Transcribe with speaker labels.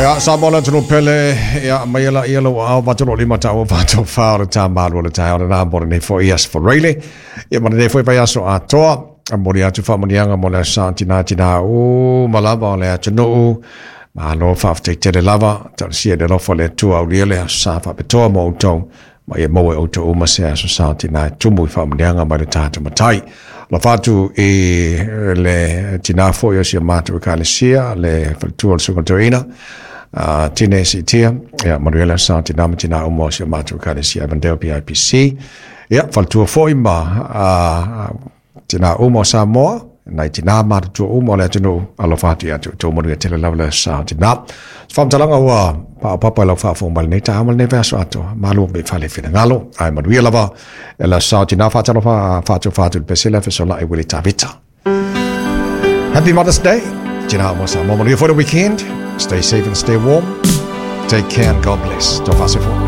Speaker 1: Ia, Samoa le atunuu pele, ia, aumaia laia lou aao 825 taua 84 o le ta malu o le taeao lena mo lenei foi Aso Faraile, ia ma lenei foi vaiaso atoa. E momoli atu faamanuiaga mo le Aso Sa tina tina uma lava o le atunuu. Malo faafetai tele lava, talosia i le alofa o le Atua aulia le Aso Sa faapitoa mo outou, ma ia maua e outou uma se Aso Sa tina e tumu i faamanuiaga mai le tatou Matai. Alofa atu i le tina foi o si o matou ekalesia, le faletua o le Susuga Toeaina, Tine Siitia, ia manuia le Aso Sa tina ma tina uma o si o matou ekalesia Avondale PIPC. Ia, faletua foi ma tina uma o Samoa, nai tina matutua uma o le atunuu, alofa atu ia te outou, manuia tele lava le Aso Sa tina. Se faamatalaga ua paopapa i lau faafofoga mai lenei taeao ma lenei vaiaso atoa, malu ua fale finagalo, ae manuia lava le Aso Sa tina. Faatalofa faatofa atu i le pesela fesolai Willie Tavita. Happy Mother's Day. Tina uma o Samoa, manuia foi le weekend. Stay safe and stay warm. Take care and God bless. Tō whasefo.